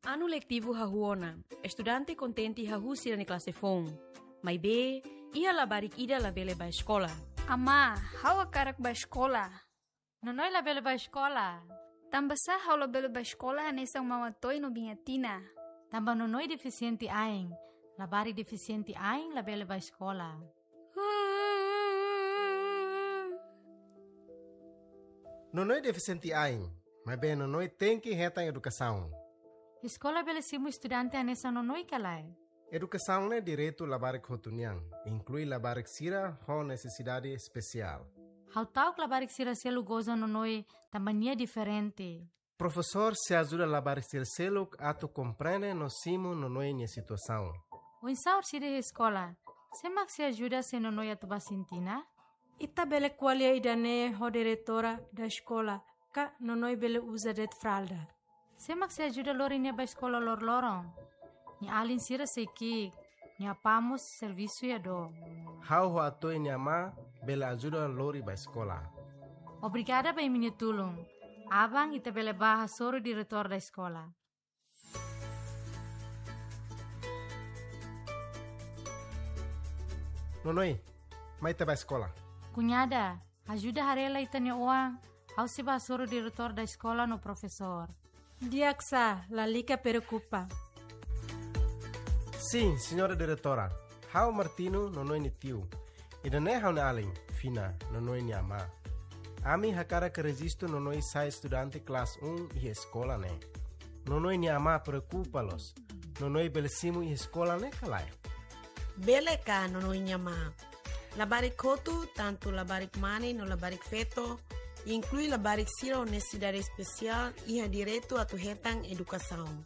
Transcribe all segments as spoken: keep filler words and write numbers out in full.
Anu letivu hahú ona, estudante kontente hahú sira-nia klase foun. Maibé, iha labarik ida labele bá eskola. Amá, ha'u hakarak bá eskola. Nonoi labele bá eskola. Tanbasá ha'u labele bá eskola hanesan Mama Toy no Biña Tina? Tanba Nonoi defisiente ain. Labarik defisiente ain labele bá eskola. Nonoi defisiente ain, maibé Nonoi tenke hetan edukasaun. Eskola bele simu estudante hanesan Nonoi ka lae? Edukasaun ne'e direitu labarik hotu nian, inklui labarik sira ho nesesidade espesiál. Ha'u ta'uk labarik sira seluk goza Nonoi tanba nia diferente. Profesór sei ajuda labarik sira seluk atu komprende no simu Nonoi nia situasaun. Oinsá orsida iha eskola? Sé mak sei ajuda se Nonoi atu bá sentina? Ita bele ko'alia ida-ne'e ho diretora da eskola, ka Nonoi bele uza de'it fralda. Sé mak sei ajuda lori nia bá eskola loroloron? Nia alin sira sei ki'ik, nia apá mós servisu iha dook. Ha'u ho Atoy nia amá bele ajuda lori bá eskola. Obrigada ba imi-nia tulun. Aban ita bele bá hasoru diretór da eskola. Nonoi, mai ita bá eskola. Kuñada, ajuda haree lai ita-nia oan, ha'u sei bá hasoru diretór da eskola no profesór. Di'ak sá, lalika preokupa. Sin, señora diretora. Ha'u Martino, Nonoi nia tiu. Ida-ne'e ha'u-nia alin, Fina, Nonoi nia amá. Ami hakarak rejistu Nonoi sai estudante klase um iha eskola ne'e. Nonoi nia amá preokupa loos. Nonoi bele simu iha eskola ne'e ka lae? Bele ka, Nonoi nia amá. Labarik hotu, tantu labarik mane no labarik feto, inklui labarik sira ho nesesidade espesiál, iha direitu atu hetan edukasaun.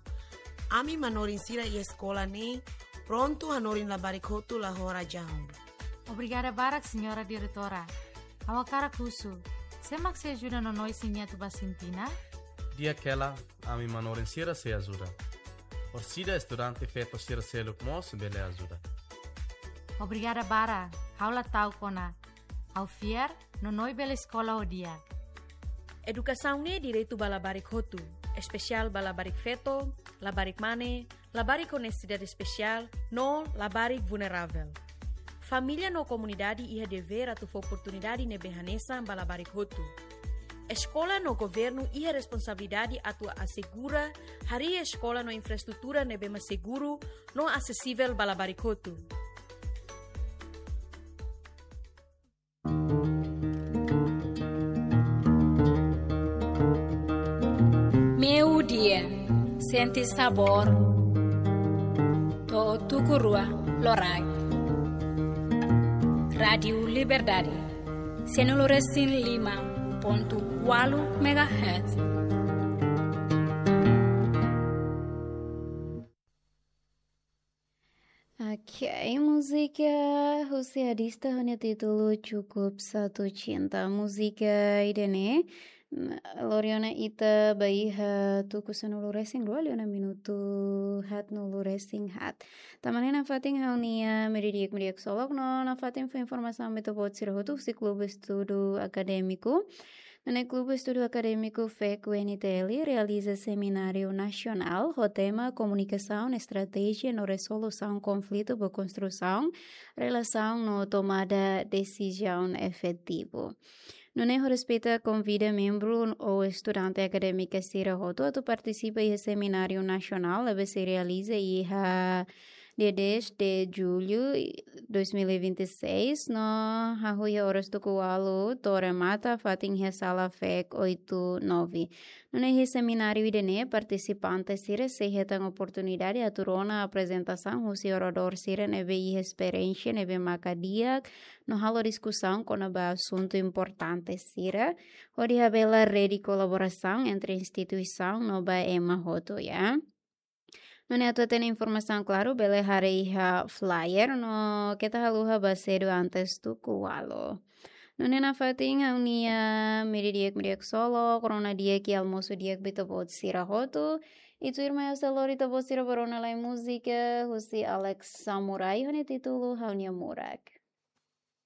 Ami manorin sira iha eskola ne'e prontu hanorin labarik hotu la ho razaun. Obrigada barak, señora diretora. Ha'u hakarak husu, sé mak sei ajuda Nonoi se nia atu bá sentina? Di'ak hela, ami manorin sira sei ajuda. Orsida estudante feto sira seluk mós bele ajuda. Obrigada barak, ha'u la ta'uk ona. Ha'u fiar, Nonoi bele eskola ho di'ak. Edukasaun ne'e direitu ba labarik hotu, espesiál ba labarik feto, labarik mane, labarik ho nesesidade espesiál, no labarik vulneravel. Família no komunidade iha devér atu fó oportunidade ne'ebé hanesan ba labarik hotu. Eskola no governu iha responsabilidade atu asegura harii eskola no infraestrutura ne'ebé mak seguru no asesivel ba labarik hotu. Meiudia, sente sabór to'o tuku rua loraik. Rádiu Liberdade, sanulu resin lima pontu ualu megahertz. Ok, múzika husi artista ho nia títulu Cukup Satu Cinta. Múzika ida-ne'e, mm, lori ona ita ba iha tuku sanulu resin rua liu ona minutu haatnulu resin haat. Tanba ne'e nafatin ha'u-nia, ah, meiudia di'ak, meiudia di'ak ksolok no nafatin fó informasaun ba ita-boot sira hotu husi Klube Estudu Akadémiku. Nune'e Klube Estudu Akadémiku fek U N T L realiza semináriu nasionál ho tema Komunikasaun, Estratéjia no Rezolusaun Konflitu ba Konstrusaun Relasaun no Tomada Desizaun Efetivu. Nune'e ho respeita konvida membru ou estudante akadémika sira hotu atu partisipa iha semináriu nasionál ne'ebé sei realiza iha dia dez de julho dois mil e vinte e seis, no hahú iha oras tuku ualu to'o remata fatin iha sala fek oito nove. Nune'e iha semináriu ida-ne'e partisipante sira sei hetan oportunidade atu rona aprezentasaun husi oradór sira ne'ebé iha esperiénsia ne'ebé maka di'ak, no halo diskusaun kona-ba asuntu importante sira, hodi habelar rede kolaborasaun entre instituisaun no ba ema hotu, ya. Nune'e atu hatene informasaun klaru, bele haree iha flyer no keta haluha bá sedu antes tuku ualu. Nune'e nafatin ha'u-nia meiudia di'ak, meiudia di'ak ksolok, rona di'ak i almosu di'ak ba ita-boot sira hotu. I tuirmai ha'u sei lori ita-boot sira ba rona lai múzika husi Alex Samurai ho nia títulu Ha'u-nia Murak.